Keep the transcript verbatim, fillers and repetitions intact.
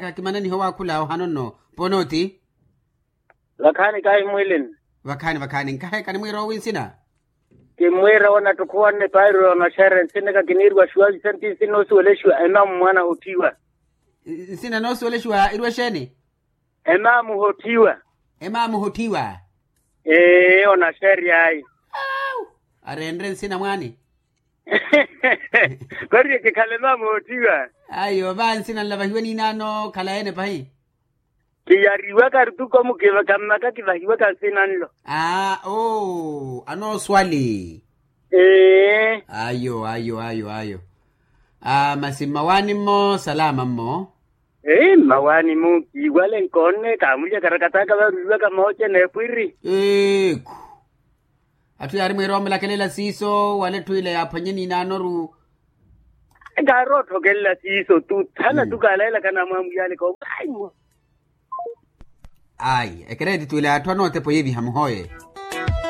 Kakimananiha owaakhula ohano nno. Ponooti. Vakhaani kahi mwilini. Vakhaani vakhaani nkahe kanimwiira owi nsina. Kimmwiira wona ttukhuwanne pairo onaxerya nsina kakiniiriwa xuwavi senti nsina noosiwelexiwa emaamu mwaana ahottiwa. Nsina noosiwelexiwa iriwa exeeni? Emaamu hottiwa. Emaamu hottiwa. Ee onaxerya ayi. Arenre nsina mwaani. Kori ekikhala emaamu hottiwa. Ayo va nsina nlavahiwe niinaano khalayi ene pahi. Kiyariwaka rutuko mukiva kammaka kivahiwaka nsina nlo. Aa oo anooswali. Ee. Ayo ayo ayo ayo. Aa masi mmawaani mmo salaama mmo. Ee mmawaani mu kiiwale nkoonne kaamulya karakataka varuiwaka mooce n'epwiri. Eekhu. Atthu yaari mwiira omulakelela siiso wala etthu ila yaaphwanye niinaanoru. Kaari otthokelela siiso tu thana tu kaalaelaka namwamuyaleka. Ayi ekereeti tu ila atthu anootepa oyeviha muhooye.